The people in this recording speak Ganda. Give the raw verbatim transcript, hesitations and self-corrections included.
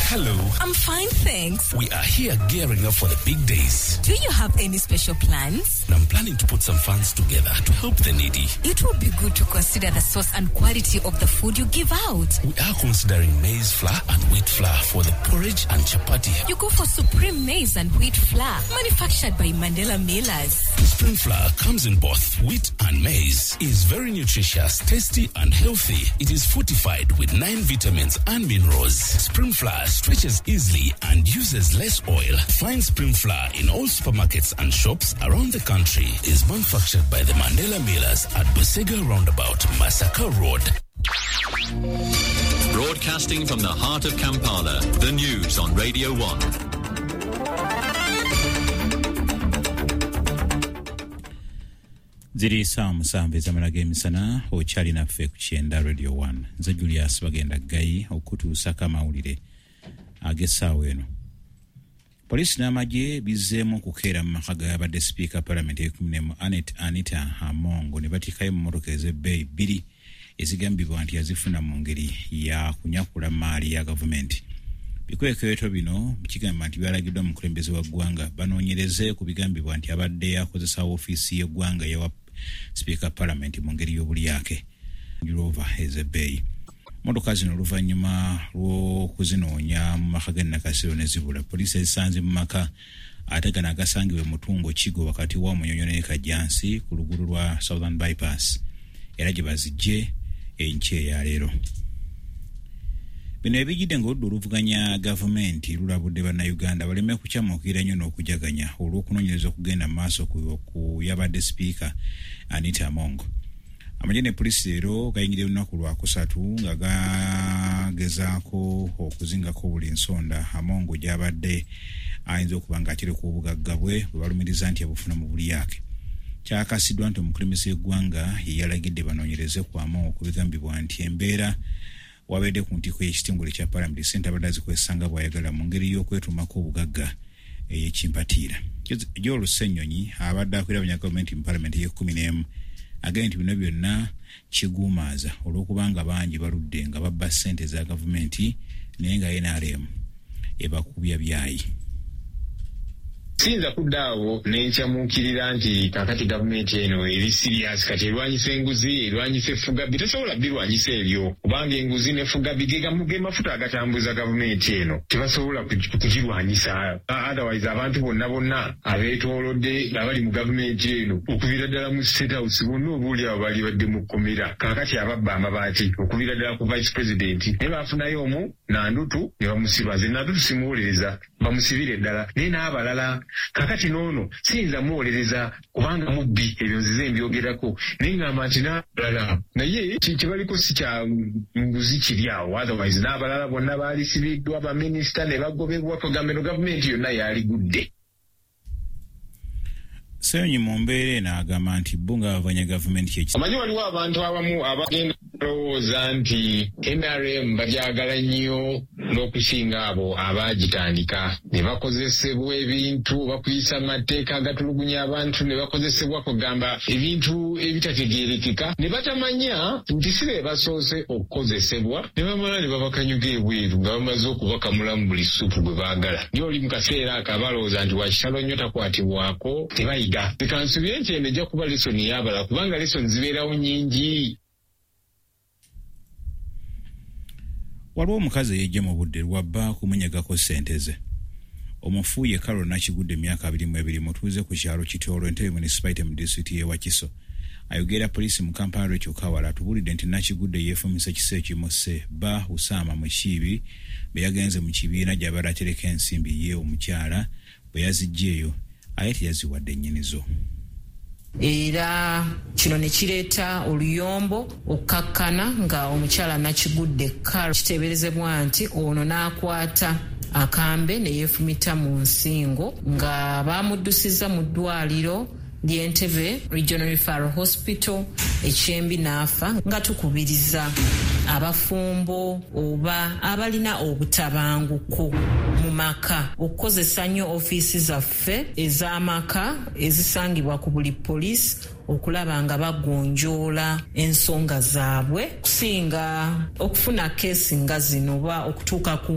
Hello. I'm fine, thanks. We are here gearing up for the big days. Do you have any special plans? I'm planning to put some funds together to help the needy. It would be good to consider the source and quality of the food you give out. We are considering maize flour and wheat flour for the porridge and chapati. You go for Supreme Maize and Wheat Flour, manufactured by Mandela Millers. Supreme flour comes in both wheat and maize. Is very nutritious, tasty and healthy. It is fortified with nine vitamins and minerals. Supreme flour stretches easily and uses less oil. Find Supreme flour in all supermarkets and shops around the country. Is manufactured by the Mandela Millers at Busega Roundabout, Masaka Road. Broadcasting from the heart of Kampala, the news on Radio one. Ziri saa musanvu ezamala g'emisana okyali naffe ku kyenda Radio one. Nze Julius Bagenda Ggayi okutuusako amawulire ag'essaawa eno. Poliisi n'amagye bizzeemu okukeera mu maka g'abadde sipiika palamenti ey'ekkumi n'emu Annet Anita Among ne batikayo mu mmotoka ez'ebbeeyi bbiri ezigambibwa nti yazifuna mu ngeri ya kunyakula maali ya gavumenti. Bikwekweto bino kigamba nti byalagiddwa mukulembeze wa ggwanga banoonyereze ku bigambibwa nti abadde akozesa woofiisi y'eggwanga eyawa sipiika palamenti mu ngeri y'obulyake Rover ez'ebbeeyi. Mmotoka zino oluvannyuma lw'okuzinoonya mu maka g'e Nakasero ne zibula, poliisi ezisanze mu maka ate gano agasangibwa e Mutungo Kigo wakati wa Munyonyo ne Kajjansi ku luguudo lwa Southern Bypass era gye bazijje enkya eya leero. Bino ebijjidde ng'oludda oluvuganya gavumenti lulabudde bannayuganda baleme kukyamuukirira nnyo n'okujaganya olw'okunoonyereza okugenda mu maaso ku yabadde sipiika Anita Among. Amagye ne poliisi leero gayingidde lunaku lwakusatu nga gagezaako okuzingako buli nsonda Among gy'abadde ayinza okuba ng'atereka obugagga bwe bwe balumiriza nti abufuna mu bulyake. Kyakasiddwa nti omukulembeze w'eggwanga ye yalagidde banoonyereze ku Among ku bigambibwa nti embeera wabadde ku ntikko y'ekitongole kya palamenti ssente abadde azikozesa nga bw'ayagala mu ngeri y'okwetumako obugagga ey'ekimpatiira. Joel Ssenyonyi abadde akulira abanyagavumenti mu palamenti ey'ekkumi n'emu agambye nti bino byonna kiguumaaza olw'okubanga bangi baludde nga babba ssente za gavumenti naye nga N R M ebakubya byayi. Siyinza kudda awo ne nkyamuukirira nti kaakati gavumenti eno eri serious kati erwanyisa enguzi, erwanyisa effugabbi. Tosobola birwanyisa ebyo kubanga enguzi n'effugabbi ge mafuta agatambuza gavumenti eno, tebasobola kugirwanyisa. Otherwise abantu bonna bonna abeetoolodde abali mu gavumenti eno okuviira ddala mu State House bonna obuuli abo bali badde mu kkomera. Kaakati ababba amabaati okuviira ddala ku vice president naye baafunayo omu Nandutu ne bamusiba. Nze Nandutu simuwolereza, bamusibire ddala naye n'abalala. Kakati n'ono siyinza muwolereza kubanga mubbi, ebyo nzize mbyogerako naye ngamba nti n'abalala naye kyebaliko si kya nguzi kiri awo. Otherwise n'abalala bonna baalisibiddwa baminisita ne bagobebwa, kugamba eno gavumenti yonna yaligudde. Ssenyonyi mu mbeera eno agamba nti bo nga bavanya gavumenti kye. Omanyi waliwo abantu abamu abagenda balowooza nti N R M bagyagala nnyo n'okusinga abo abaagitandika ne bakozesebwa ebintu bakuyisa amateeka agatulugunya abantu ne bakozesebwa kugamba ebintu ebitategeerekeka ne batamanya nti si be basoose okukozesebwa ne bamala ne babakanyuga ebweru nga bamaze okubakamulamu buli ssupu gwe baagala. Naye oli mu kaseera ako abalowooza nti wakitalo nnyo takwatibwako tebayiga. Leka nsubire nti eno ejja kuba lesoni y'abalala kubanga lesoni zibeerawo nnyingi. Waliwo omukazi eyejja mu budde lwabba kumunyagako ssente ze. Omufu ye Carol Nakigudde emyaka abiri mu ebiri mutuuze ku kyalo Kitoolo Entebbe Municipality mu disitulikiti y'e Wakiso. Ayogera poliisi mu Kampala Rachel Kawala atubuulidde nti Nakigudde yeefumise ekisa ekimusse bba Usama Mukiibi bwe yagenze mu kibiina gy'abadde atereka ensimbi ye omukyala bwe yaziggyeeyo aye teyaziwadde nnyinizo. Era kino ne kireeta oluyombo okkakkana nga omukyala Nakigudde Carol kiteeberezebwa nti ono n'akwata akambe ne yeefumita mu nsingo nga baamuddusiza mu ddwaliro ly'Entebbe Regional Referral Hospital ekyembi n'afa. Nga tukubiriza abafumbo oba abalina obutabanguko mu maka okukozesa nnyo ofiisi zaffe ez'amaka ezisangibwa ku buli poliisi okulaba nga bagonjoola ensonga zaabwe okusinga okufuna keesi nga zino oba okutuuka ku